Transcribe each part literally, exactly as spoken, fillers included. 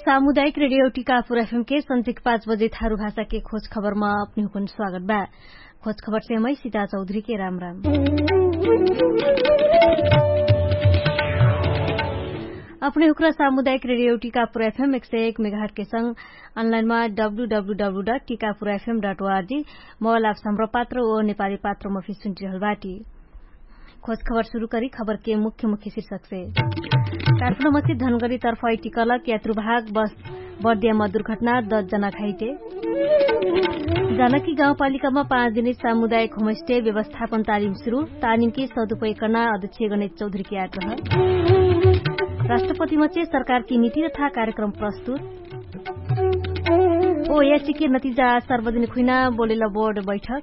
सामुदायिक रेडियो टिकापुर एफएम के सन्झिक पाँच बजे थारु भाषा के खोज खबरमा अपने हुकुन स्वागत बा। खोज खबर से मै सिता चौधरी के राम राम। अपने हुक्रा सामुदायिक रेडियो टिकापुर एफएम एक सय एक मेगाहट के संग अनलाइनमा W W W dot Tikapur FM dot ORG mobile apps Hamro पात्र ओ नेपाली पात्रमा फिर सुन्टिरहल बाटी। खोज खबर सुरु करी खबर के मुख्य मुख्य शीर्षक से। काठमाडौँ मसी धनगरी तर्फ ऐटिकलक यात्रुभाग बस बर्दियामा दुर्घटना दस जना घाइटे। जानकी गाउँपालिकामा पाँच दिने सामुदायिक होमस्टे व्यवस्थापन तालिम सुरु। तालिमकी सदुपयोग कर्ना अध्यक्ष गणेश चौधरीकी आग्रह। राष्ट्रपतिमा चे सरकारकी नीति तथा कार्यक्रम प्रस्तुत। ओ याचिके नतिजा सार्वजनिक हुइना बोलेल बोर्ड बैठक।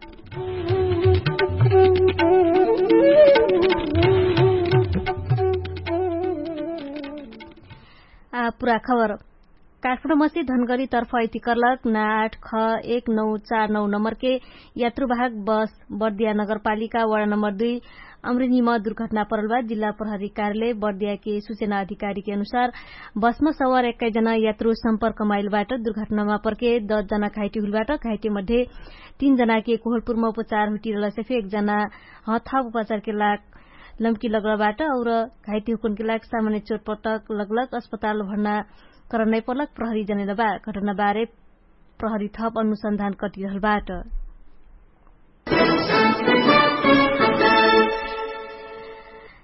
आ पुरा खबर। काठमाडौँ मसी धनगरी तर्फ ऐतिकर्लक नाठ ख एक नौ चार नौ नम्बरके यात्रुवाहक बस बर्दिया नगरपालिका वडा नम्बर दुई अमरिनीमा दुर्घटना परल बा। जिल्ला प्रहरी कार्यालय बर्दियाके सुचना अधिकारीके अनुसार बसमा सवार एक्काइस जना यात्रु सम्पर्कमा आइल बाट। दुर्घटनामा परके दस जना घाइटी हुइल बाट। घाइटी मध्ये तीन जनाके कोहलपुरमा उपचार हुइटी रहलसे फे एक जना हथाप उपचारके लाग लम्की लगल बाट और घाइटी हुकुनके लाग सामान्य चोटपटक लगलक अस्पताल भर्ना करन नै परलक प्रहरी जनेल बा। घटना बारे प्रहरी थप अनुसन्धान कटिरहल बाट।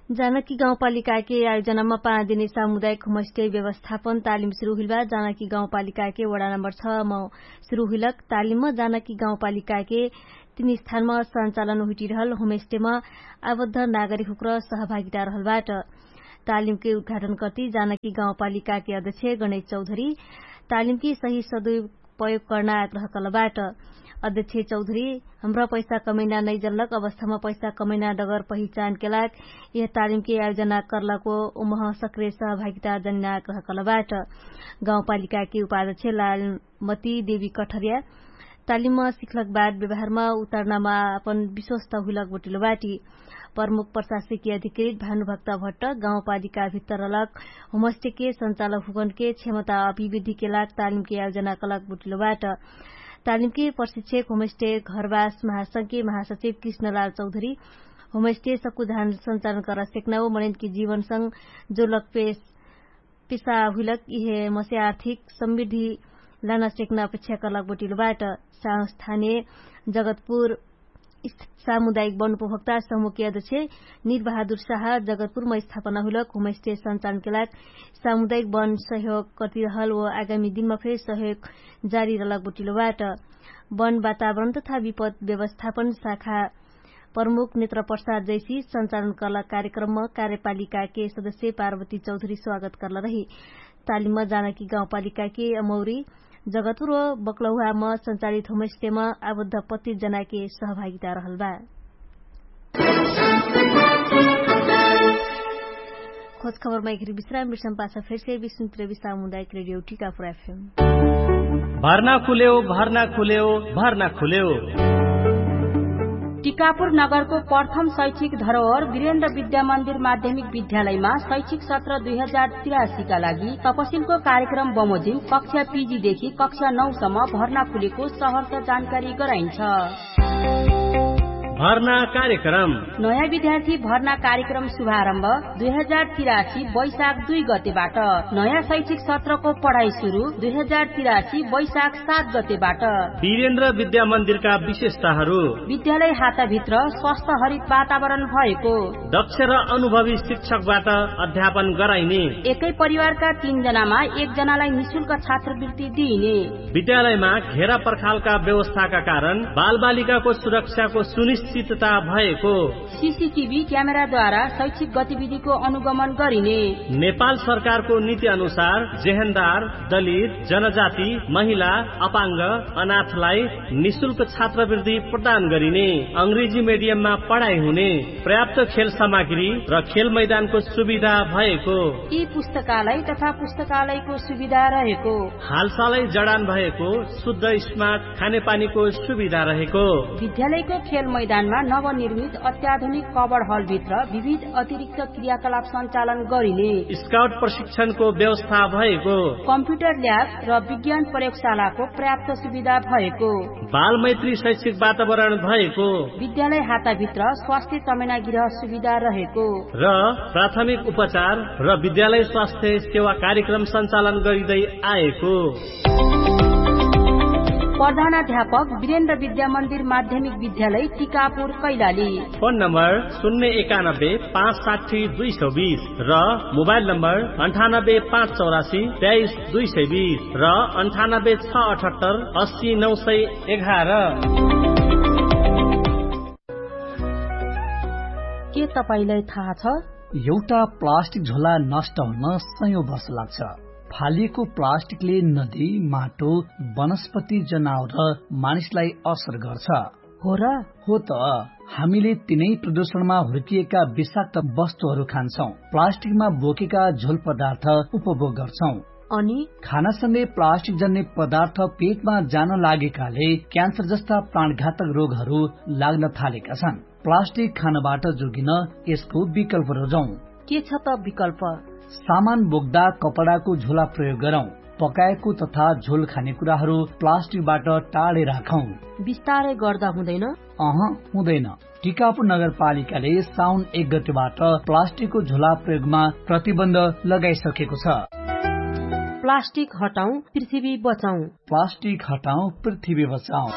जानकी गाउँपालिकाके आयोजनामा पाँच दिने सामुदायिक होमस्टे व्यवस्थापन तालिम सुरु हुइल बा। जानकी गाउँपालिकाके वडा नम्बर छ म सुरु हुइलक तालिममा जानकी गाउँपालिकाके तीन स्थानमा सञ्चालन हुइटिरहल होमस्टेमा आबद्ध नागरिक हुक्र सहभागिता रहल बाट। तालिमके उद्घाटन कति जानकी गाउँपालिकाके अध्यक्ष गणेश चौधरी तालिमके सही सदुपयोग कर्ना आग्रह कलबाट। अध्यक्ष चौधरी हमरा पैसा कमैना नैजल्लक अवस्थामा पैसा कमैना डगर पहिचानके लाग यह तालिमके आयोजना कर्लको उमह सक्रिय सहभागिता जन्ना आग्रह कलबाट। गाउँपालिकाके उपाध्यक्ष लालमती देवी कठरिया तालिममा सिखलक बाद व्यवहारमा उतार्नामा अपन विश्वस्त हुइलक बोटिलो बाटी। प्रमुख प्रशासकीय अधिकृत भानुभक्त भट्ट गाउँपालिका भित्तर अलक होमस्टेके सञ्चालक हुकनके क्षमता अभिवृद्धिके लाग तालिमके आयोजना कलक बोटिलो बाट। तालिमके प्रशिक्षक होमस्टे घरवास महासंघके महासचिव कृष्णलाल चौधरी होमस्टे सकुधान सञ्चालन कर सेक्ना ओ मनैनके जीवनसँग जोलक पेश पेशा हुइलक इहे मसे आर्थिक समृद्धि लाना सेक्ना अपेक्षा कर्लक बोटिलो बाट। संस्थाने जगतपुर सामुदायिक वन उपभोक्ता समुहके अध्यक्ष निरबहादुर साह जगतपुरमा स्थापना हुइलक होमस्टे सञ्चालनके लाग सामुदायिक वन सहयोग कटिरहल ओ आगामी दिनमा फेर सहयोग जारी रहलक बोटिलो बाट। वन वातावरण तथा विपद व्यवस्थापन शाखा प्रमुख नेत्र प्रसाद जैसी सञ्चालन कला कार्यक्रममा कार्यपालिकाके सदस्य पार्वती चौधरी स्वागत कर्ल रही। तालिममा जानकी गाउँपालिकाके अमौरी जगतपुर बक्लौहामा सञ्चालित होमस्टेमा आबद्ध पच्चिस जनाके सहभागिता रहल बा। खोज खबरमा एकरी विश्राम बिर्सम पासा फेरसे विष्णुप्रेमी सामुदायिक रेडियो टिकापुर एफएम। भर्ना खुलेउ भर्ना खुलेउ भर्ना खुलेउ। टिकापुर नगरको प्रथम शैक्षिक धरोहर वीरेन्द्र विद्यामन्दिर माध्यमिक विद्यालयमा शैक्षिक सत्र दुई हजार तिरासीका लागि तपसिलको कार्यक्रम बमोजिम कक्षा पिजीदेखि कक्षा नौसम्म भर्ना खुलेको सहरका जानकारी गराइन्छ। भर्ना कार्यक्रम। नयाँ विद्यार्थी भर्ना कार्यक्रम शुभारम्भ दुई हजार तिरासी वैशाख दुई गतेबाट। नयाँ शैक्षिक सत्रको पढाइ सुरु दुई हजार तिरासी वैशाख सात गतेबाट। वीरेन्द्र विद्यामन्दिरका विशेषताहरू। विद्यालय हाताभित्र स्वस्थ हरित वातावरण भएको। दक्ष र अनुभवी शिक्षकबाट अध्यापन गराइने। एकै परिवारका तीन जनामा एक जनालाई निशुल्क छात्रवृत्ति दिइने। विद्यालयमा घेरा पर्खालका व्यवस्थाका कारण बालबालिकाको सुरक्षाको सुनिश्चितता भएको। सिसिटिभी क्यामेराद्वारा शैक्षिक गतिविधिको अनुगमन गरिने। नेपाल सरकारको नीति अनुसार जेहेन्दार, दलित, जनजाति, महिला, अपाङ्ग, अनाथलाई निशुल्क छात्रवृत्ति प्रदान गरिने। अङ्ग्रेजी मेडियममा पढाइ हुने। पर्याप्त खेल सामग्री र खेल मैदानको सुविधा भएको। यी पुस्तकालय तथा पुस्तकालयको सुविधा रहेको। हालसालै जडान भएको शुद्ध स्मार्ट खानेपानीको सुविधा रहेको। विद्यालयको खेल मैदान मा नवनिर्मित अत्याधुनिक कबड हलभित्र विविध अतिरिक्त क्रियाकलाप सञ्चालन गरिने स्काउट प्रशिक्षणको व्यवस्था भएको कम्प्युटर ल्याब र विज्ञान प्रयोगशालाको पर्याप्त सुविधा भएको बालमैत्री शैक्षिक वातावरण भएको विद्यालय हाताभित्र स्वास्थ्य चमेना गृह सुविधा रहेको र प्राथमिक उपचार र विद्यालय स्वास्थ्य सेवा कार्यक्रम सञ्चालन गरिँदै आएको प्रधानाध्यापक वीरेन्द्र विद्यामन्दिर माध्यमिक विद्यालय टिकापुर कैलाली। फोन नम्बर शून्य एकानब्बे पाँच साठी दुई सौ बीस र मोबाइल नम्बर अन्ठानब्बे पाँच चौरासी तेइस दुई सय बीस र अन्ठानब्बे छ अठहत्तर अस्सी नौ सय एघार। के तपाईंलाई थाहा छ? एउटा प्लास्टिक झोला नष्ट हुन सयौं वर्ष लाग्छ। फालिएको प्लास्टिकले नदी, माटो, वनस्पति, जनावर र मानिसलाई असर गर्छ। हो र? हो त। हामीले तिनै प्रदूषणमा हुर्किएका विषाक्त वस्तुहरू खान्छौं, प्लास्टिकमा बोकेका झोल पदार्थ उपभोग गर्छौं। अनि खानासँगै प्लास्टिक जन्ने पदार्थ पेटमा जान लागेकाले क्यान्सर जस्ता प्राणघातक रोगहरू लाग्न थालेका छन्। प्लास्टिक खानबाट जोगिन यसको विकल्प रोजौं। के छ त विकल्प? सामान बोक्दा कपडाको झोला प्रयोग गरौं। पकाएको तथा झोल खाने कुराहरू प्लास्टिकबाट टाढे राखौं। बिस्तारै गर्दा हुँदैन? अह, हुँदैन। टिकापुर नगरपालिकाले साउन एक गतेबाट प्लास्टिकको झोला प्रयोगमा प्रतिबन्ध लगाइसकेको छ। प्लास्टिक हटाउँ, पृथ्वी बचाउँ। प्लास्टिक हटाउँ, पृथ्वी बचाउँ।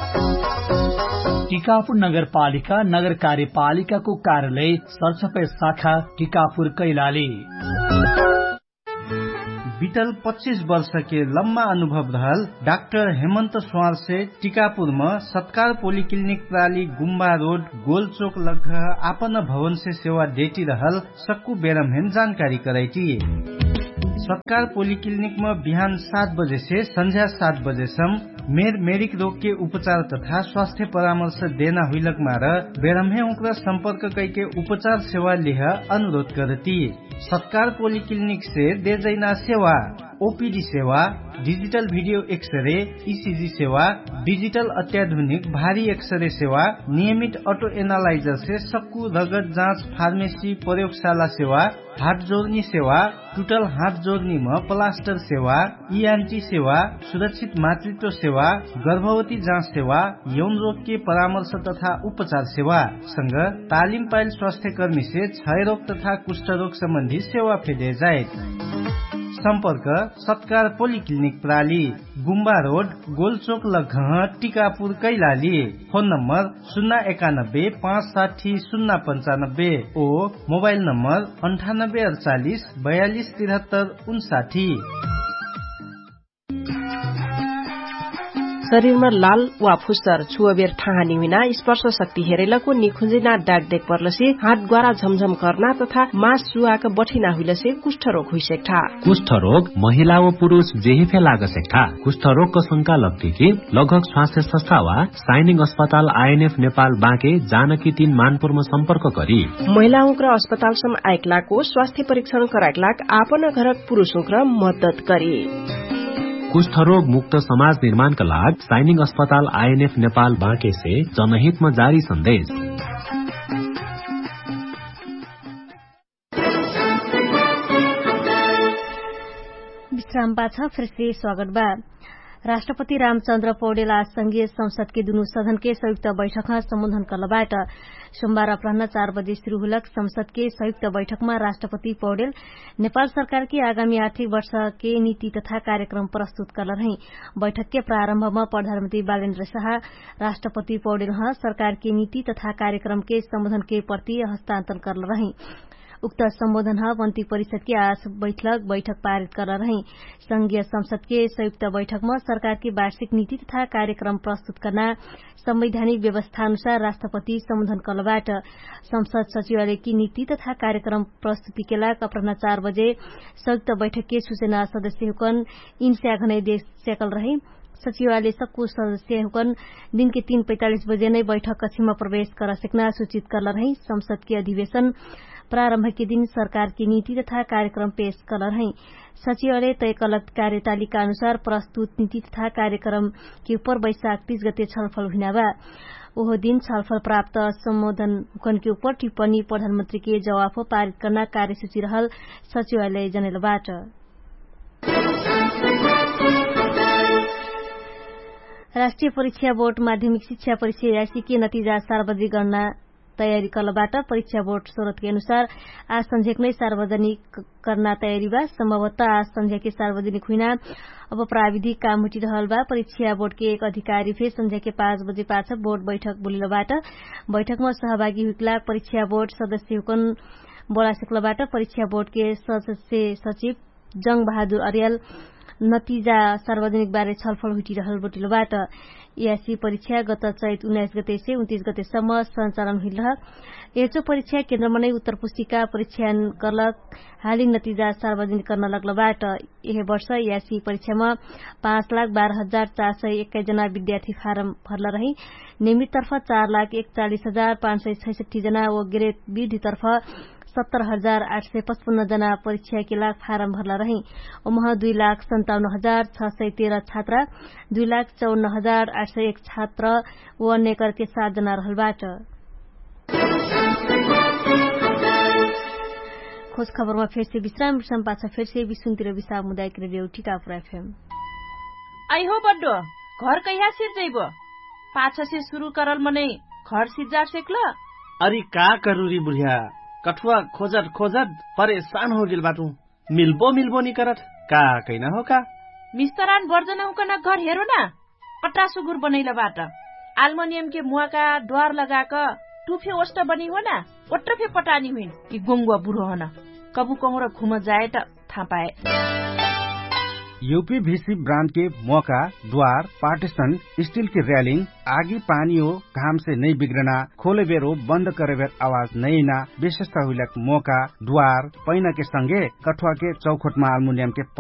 टिकापुर नगरपालिका नगर कार्यपालिकाको कार्यालय सरसफाइ शाखा टिकापुर कैलाली। बितल पच्चिस वर्षके लम्मा अनुभव रहल डाक्टर हेमन्त स्वारसे टिकापुरम सत्कार पोलिक्लिनिक प्राली गुम्बा रोड गोलचोक लग्घ आपन भवनसे सेवा देटी रहल सक्कु बेरमहेन जानकारी करैटी। सत्कार पोलिक्लिनिकम बिहान सात बजेसे सन्झ्या सात बजेसम मेर मेरिक रोगके उपचार तथा स्वास्थ्य परामर्श देना हुइलक मार बेरमहे उक्र सम्पर्क कैके उपचार सेवा लिह अनुरोध करती। सत्कार पोलिक्लिनिकसे देजैना सेवा ओपिडी सेवा, डिजिटल भिडियो एक्सरे, इसिजी सेवा, डिजिटल अत्याधुनिक भारी एक्सरे सेवा, नियमित अटो एनालाइजरसे सक्कु रगत जाँच फार्मेसी प्रयोगशाला सेवा, हात जोर्नी सेवा, टुटल हात जोर्नीम प्लास्टर सेवा, इआन्टी सेवा, सुरक्षित मातृत्व सेवा, गर्भवती जाँच सेवा, यौन रोगके परामर्श तथा उपचार सेवा संग तालिम पाइल स्वास्थ्यकर्मीसे क्षयरोग तथा कुष्ठरोग सम्बन्धी सेवा फेदे जाइत। सम्पर्क सत्कार पोलिक्लिनिक प्राली, गुम्बा रोड, गोलचोक लग्घह, टिकापुर कैलाली। फोन नम्बर सुन्ना एकानब्बे पाँच साठी सुन्ना पन्चानब्बे ओ मोबाइल नम्बर अन्ठानब्बे अडचालिस बयालिस तिरहत्तर उन्साठी। शरीरमा लाल वा फुस्सर छुवबेर ठाहानी हुइना स्पर्श शक्ति हेरैलको निखुजिना डाक देख पर्लसे हात ग्वारा झमझम कर्ना तथा मास सुवाक बठिना हुइलसे कुष्ठरोग हुइसेक्ठा। कुष्ठरोग महिला व पुरुष जेहिफे लागसेक्ठा। कुष्ठरोगको शंका लग्तिकी लगभग स्वास्थ्य संस्था वा साइनिङ अस्पताल आइएनएफ नेपाल बाँके जानकी तीन मानपुरमा सम्पर्क करी। महिला उक्र अस्पतालसम आइकलाको स्वास्थ्य परीक्षण कराइकलाक आपन घरक पुरुष उक्र मद्दत करी। कुष्ठरोग मुक्त समाज निर्माणका लाग साइनिङ अस्पताल आइएनएफ नेपाल बाँकेसे जनहितमा जारी सन्देश। विश्राम पाछ फेरसे स्वागत बा। राष्ट्रपति रामचन्द्र पौडेल आज संघीय संसदके दुनु सदनके संयुक्त बैठकमा सम्बोधन कलबाट। सोमबार अपराह्न चार बजे सुरु हुलक संसदके संयुक्त बैठकमा राष्ट्रपति पौडेल नेपाल सरकारके आगामी आर्थिक वर्षके नीति तथा कार्यक्रम प्रस्तुत कलरहै। बैठकके प्रारम्भमा प्रधानमन्त्री बालेन्द्र साहा राष्ट्रपति पौडेलह सरकारके नीति तथा कार्यक्रमके सम्बोधनके प्रति हस्तान्तरण करलरहै। उक्त सम्बोधनह मन्त्री परिषदके आस बैठलक बैठक पारित करलरहै। संघीय संसदके संयुक्त बैठकमा सरकारके वार्षिक नीति तथा कार्यक्रम प्रस्तुत कर्ना संवैधानिक व्यवस्थानुसार राष्ट्रपति सम्बोधन कलबाट। संसद सचिवालयके नीति तथा कार्यक्रम प्रस्तुतिके लाग अपराह्न चार बजे संयुक्त बैठकके सुचना सदस्यहुकन इन्स्याघनै देश स्याकलरहै। सचिवालय सक्कु सदस्यहुकन दिनके तीन पैतालिस बजे नै बैठक कछिमा प्रवेश करसेक्ना सुचित करलरहै। संसदके अधिवेशन प्रारम्भके दिन सरकारके नीति तथा कार्यक्रम पेश कलरहै। सचिवालय तय कलक कार्यतालिका अनुसार प्रस्तुत नीति तथा कार्यक्रमके उपर बैशाख तीस गते छलफल हुइनाबा। ओहो दिन छलफल प्राप्त सम्बोधन हुकनके उपर टिप्पणी प्रधानमन्त्रीके जवाफ पारित कर्ना कार्यसूची रहल सचिवालय जनैलबाट। राष्ट्रिय परीक्षा बोर्ड माध्यमिक शिक्षा परीक्षा यासीके नतिजा सार्वजनिक गर्ना तयारी कर्लबाट परीक्षा बोर्ड स्रोतके अनुसार आज सन्झ्याक नै सार्वजनिक कर्ना तयारी बा। सम्भवत आज सन्झ्याके सार्वजनिक हुइना अब प्राविधिक काम हुटिरहल बा। परीक्षा बोर्डके एक अधिकारी फे सन्झ्याके पाँच बजे पाछ बोर्ड बैठक बोलिलबाट बैठकमा सहभागी हुइकला परीक्षा बोर्ड सदस्य हुकन बोलासिक्लबाट परीक्षा बोर्डके सदस्य सचिव जङ्ग बहादुर अर्याल नतिजा सार्वजनिक बारे छलफल हुइटिरहल बोटिलबाट। यासी परीक्षा गत चैत उन्नाइस गतेसे उन्तिस गतेसम्म सञ्चालन हुइलह। एचो परीक्षा केन्द्रमनै उत्तर पुस्तिका परीक्षान कर्लक हालिन नतिजा सार्वजनिक कर्न लग्लबाट। यहे वर्ष यासी परीक्षामा पाँच लाख बाह्र हजार चार सय एक्काइस जना विद्यार्थी फारम भर्ल रही। नियमिततर्फ चार लाख एकचालिस हजार पाँच सय छैसठ्ठी जना व ग्रेट विधितर्फ सत्तर हजार आठ सय पचपन्न जना परीक्षाके लाग फारम भर्ला रही। ओमह दुई लाख सन्ताउन्न हजार छ सय तेह्र छात्रा, दुई लाख चौन्न हजार आठ सय एक छात्र व नेकरके सात जना रहलबाट। खोज खबरमा फेरसे विश्राम विश्राम पाछ फेरसे विश्वन्तिर विश्राम मुदायक रेडियो ठिका पुरा फेम। आइहो बड्डो, घर कैहा सिर जैबो? पाछसे सुरु करल मनै घर सिज्जार सेक्ल? अरि का करुरी बुढ्या? कठुवा खोजत खोजत परेशान होगेल बाटु। मिल्बो मिल्बो निकरत का? कैना हो का? मिस्तरान बर्जन हुकन घर हेरो ना? अट्टा सुगुर बनैल बाट। आल्मनियमके मुवाका द्वार लगाक टुफे ओष्ट बनी हो ना? ओट्ट फे पटानी हुइन कि गोङ्गुवा बुढो हन। कबु कहुँर घुम जाए त थापाए। युपी भिसी ब्रान्डके मोका द्वार पार्टिसन स्टिलके र्यालिङ आगी पानी हो घामसे नै बिग्रना खोलेबेर हो बन्द करेबेर आवाज नैना विशेषता हुइलक मोका द्वार पैनाके संगे कठुवाके चौखोटमा आल्मुनियमके